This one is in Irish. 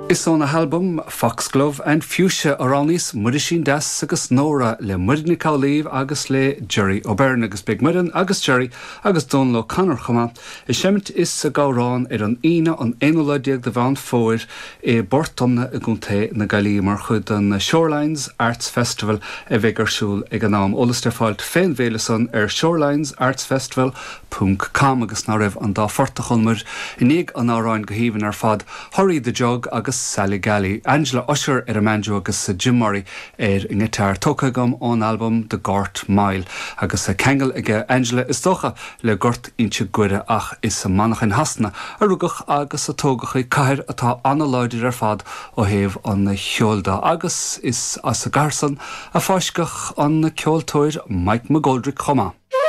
Is óna halbam Foxglove and Fuchsia a roghnaíos Muirisín Deas agus Nóra le Muireann Nic Amhlaoibh agus le Gerry O'Beirne agus beidh Muireann agus Gerry agus Dónal O'Connor chomh maith ag seimint is ag amhrán ar an Aoine an aonú lá déag de Mheán Fómhair i bPort Omna i gContae na Gaillimhe mar chuid den Shorelines Arts Festival a bheidh ar siúl ag an am. Eolas le fáilt fén bhféile san ar shorelinesartsfestival ponc com agus ná raibh an dá phort a chualamar i ndiaidh an amhráin go haoibhinn ar fad, Hurry the Jug agus Sally Gally, Angela Ussher ar an mbanjo agus Jim Murray ar an ngiotár, tógtha agam ón albam The Gort Mile agus ceangal aige Angela is dócha le Gort Inse Guaire ach is i Manchain Shasana a rugadh agus a tógadh í, cathair atá ana-láidir ar fad ó thaobh an cheoil de agus is as an gcathair san a fáisceadh an ceoltóir Mike McGoldrick chomh maith.